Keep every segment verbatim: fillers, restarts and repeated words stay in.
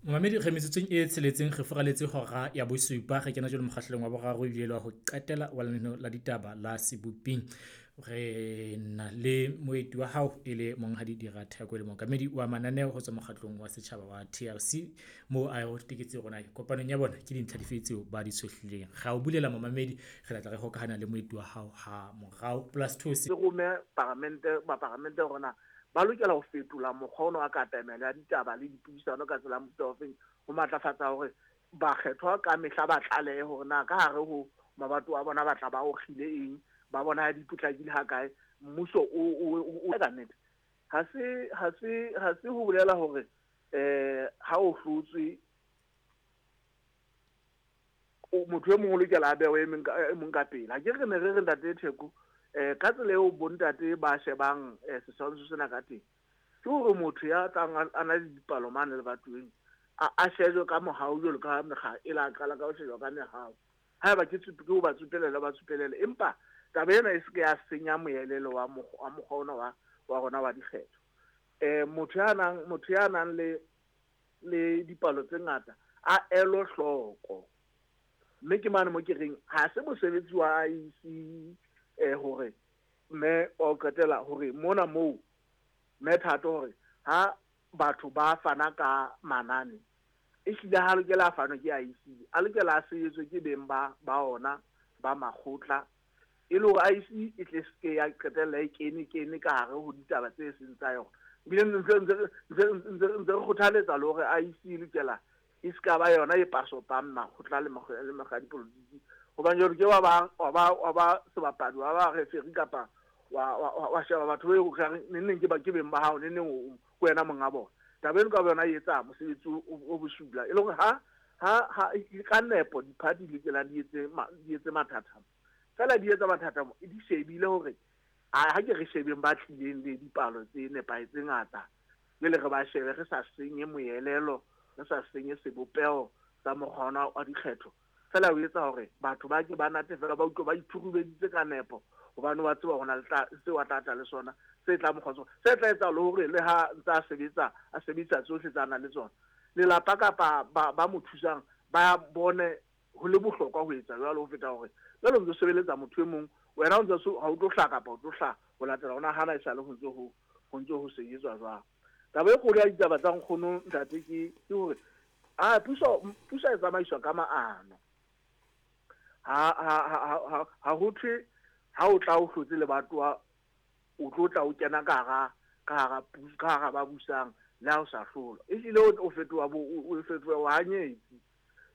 Momamedi re metsotsong e tsheletseng re furaletse hora ya bosupa, re kena jwale mokgahlelong wa boraro ebile le wa ho qetela wa lenaneo la ditaba la Seboping. Re na le moeti wa hao e le monghadi Dira Theko, e le mookamedi wa mananeo ho tswa mokgatlong wa setjhaba wa T R C, moo a o teketse rona kopanong ya bona ke dintlha dife tseo ba di tshohlileng. Ra o bulela momamedi, re tla re hokahana le moeti wa hao ha morao plus two. Se rome paramente, ba paramente rona ba lokela ho fetola mokgwa ono wa katamelo ya ditaba le dipuisano ka tsela ya mofuta ofeng, ho matlafatsa hore bakgethwa ka mehla ba tlalehe hore na ka hare ho mabato a bona ba tla ba okgile eng, ba bona ha di potlakile ha kae, mmuso o, o, o, o ka nnete. Ha se, ha se, ha se ho bolela hore, eh, ha o hlotswe, o, motho e mong o lokela a bewe e mong ka, e mong ka pele. Ha ke re ne re re ntate Theko, eh, ka tsela eo bontate ba shebang, eh, setshwantsho sena ka teng, ke hore motho ya tlang a, a na le dipalo mane lebatoweng, a, a shejwe ka mohau jwalo ka mekga e la qala ka ho shejwa ka mehau. Haeba ke tsup-, ke ho ba tsupelele, ba tsupelele. Empa taba ena e se ke ya senya moelelo wa mokgwa, wa mokgwa ona wa, wa rona wa dikgetho. Eh, motho ya nang, motho ya nang le, le dipalo tse ngata a elo hloko. Mme ke mane mo ke reng ha se mosebetsi wa I E C, eh, hore mme o qetela hore mona moo mme Thato hore ha batho ba fana ka manane, ehlile ha lokela a fanwe ke I E C, a lokela a sebetswe ke beng ba, ba ona ba makgotla, e le hore I E C e tle se ke ya qetella e kene, kene ka hare ho ditaba tse seng tsa yona. Ebile ntse, ntse, ntse, ntse, ntse re kgothaletsa le hore I E C e lokela e se ka ba yona e pasopang makgotla le makgotla le mekga ya dipolotiki. Hobane jwale ke wa ba, wa ba, wa ba sebapadi, wa ba referee kapa wa, wa, wa, wa sheba batho ba e reng neng neng ke ba, ke beng ba hao, neng neng o, o, ke wena monga bona. Taba eno ka boyona e etsa mosebetsi o, o, o bosula. E le hore ha, ha, ha, e ka nepo di-party di lokela di etse ma-, di etse mathata. Feela di etsa mathata mo, di shebile hore, a, ha ke re shebeng ba tlileng le dipalo tse nepahetseng ngata, le le re ba shebe re sa senye moelelo, re sa senye sebopeho sa mokgwa ona wa dikgetho. Feela o etsa hore batho ba ke ba natefela, ba utlwe ba ithurubeditse ka nepo, hobane wa tseba hore na le tla, seo a tla tla le sona, se tla mo kgotsofatsa, se tla etsa le hore le ha ntse a sebetsa, a sebedisa tsohle tsa nang le tsona, lelapa kapa ba, ba mo thusang ba bone ho le bohlokwa ho etsa jwalo ho feta hore jwale o ntso sebeletsa motho e mong, wena o ntso so, ha o tlo hlaha kapa o tlo hlaha ho latela hona hana e sale ho ntso ho, ho ntso ho sebetswa jwang. Taba e kgolo ya ditaba tsa nkgono ntate ke, ke hore, ah, puso, puso e tsamaiswa ka maano. Ha, ha, ha, ha, ha, ha ho thwe ha o tla o hlotse lebatowa, o tlo tla o kena ka hara, ka hara puso, ka hara ba busang, le ha o sa hlola. Ehlile o, o fetoha bo, o, o fetoha bohanyetsi.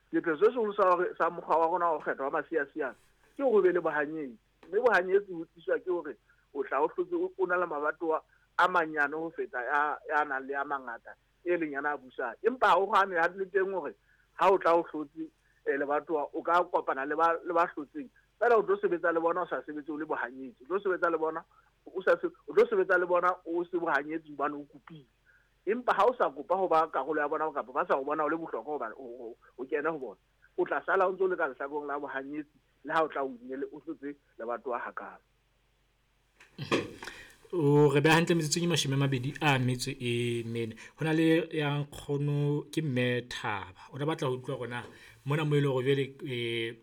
Sepheo se seholo sa hore, sa mokgwa wa rona wa ho kgetha wa masiasiane ke hore o be le bohanyetsi. Mme bohanyetsi ho tliswa ke hore o tla o hlotse o, o na le mabatowa a manyane ho feta ya, ya nang le a mangata, e leng yana a busang. Empa ha ho hane ha le teng hore ha o tla o hlotse, eh, lebatowa, o ka kopana le ba, le ba hlotseng. Feela o tlo sebetsa le bona o sa sebetse o le bohanyetsi. O tlo sebetsa le bona o sa se-, o tlo sebetsa le bona o se bohanyetsi hobane o kopile. Empa ha o sa kopa ho ba karolo ya bona kapa ba sa o bona o le bohlokwa hobane o, o, o kene ho bona, o tla sala o ntso le ka lehlakoreng la bohanyetsi le ha o tla o inele o hlotse lebatowa hakalo. O re beha hantle metsotsong e mashome a mabedi a metso e mene. Ho na le ya nkgono ke Mme Thaba. O ne batla ho utlwa hore na mona mo e leng hore jwale, eh,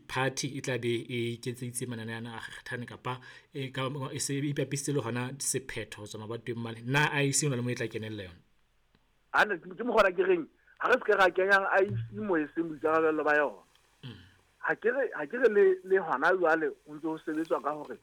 party e tla be e iketseditse manane ana a kgethane kapa e ka, e se e ipapisitse le hona sephetho ho tswa mabatoweng mane. Na I E C ho na le mo e tla kenella yona? Ha ne ke mokgwa ke reng, ha re se ke ra kenyang I E C mo e seng boikarabelo ba yona. Mm. Ha ke re, ha ke re le, le hona jwale ho ntse ho sebetswa ka hore